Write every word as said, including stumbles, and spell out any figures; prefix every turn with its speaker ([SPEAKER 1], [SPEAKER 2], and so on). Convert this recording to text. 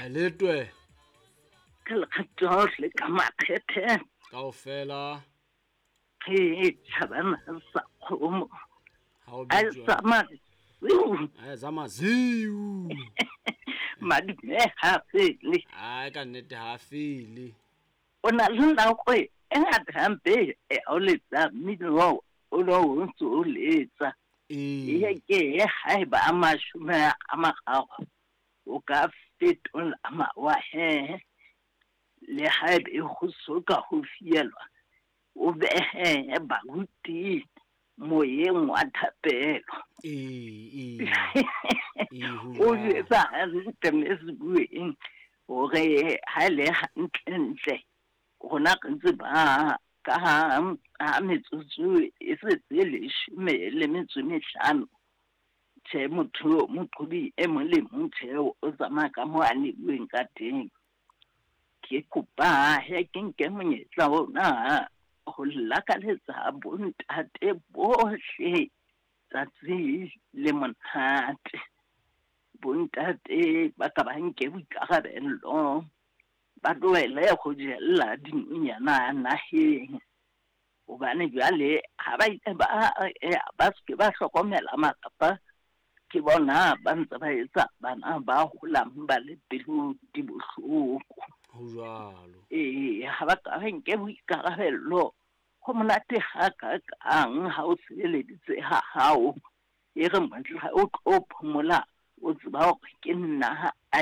[SPEAKER 1] Letwe.
[SPEAKER 2] Ka lekgatho le ka makgethe.
[SPEAKER 1] Kaofela.
[SPEAKER 2] Ke tjhabana sa kgomo.
[SPEAKER 1] Ha o
[SPEAKER 2] A
[SPEAKER 1] bitswa.
[SPEAKER 2] tsamaya.
[SPEAKER 1] A tsamaya ziu.
[SPEAKER 2] Madume ha fele.
[SPEAKER 1] Ai ka nnete ha fele.
[SPEAKER 2] O na le nako e ngata hampe e o letsa mmino o no o ntse o letsa.
[SPEAKER 1] Ee.
[SPEAKER 2] E ke haeba a mashome a mararo o ka fetola mawa he. Le haebe ho so ka ho fielwa o behe baruti moyeng wa thapelo.
[SPEAKER 1] Ee, ee. Ee, ho
[SPEAKER 2] O
[SPEAKER 1] jwalo.
[SPEAKER 2] jwetsa hantle mme Sebueng hore ha e le hantlentle rona re ntse ba ka ha ha metsotso e setse leshome le metso e mehlano. Tjhe, motho moqhobi e mong le mong tjhe o tsamaya ka moo a neuweng ka teng. Ke kopa he ke nke monyetla ona ho lakaletsa bontate bohle tsatsi le monate. Bontate ba ka ba nke boikarabello, ba tlohele ho jella dinonyana naheng. Hobane jwale ha ba ile ba ba se ke ba hlokomela malapa, ke bona ba ntse ba etsa bana ba holang ba le pelo di bohloko.
[SPEAKER 1] Ho jwalo.
[SPEAKER 2] Ee, ha ba ka ba nke boikarabello, ho monate hakakang ha o sebeleditse ha hao. E re mohla o tlo phomola, o tseba hore ke nna a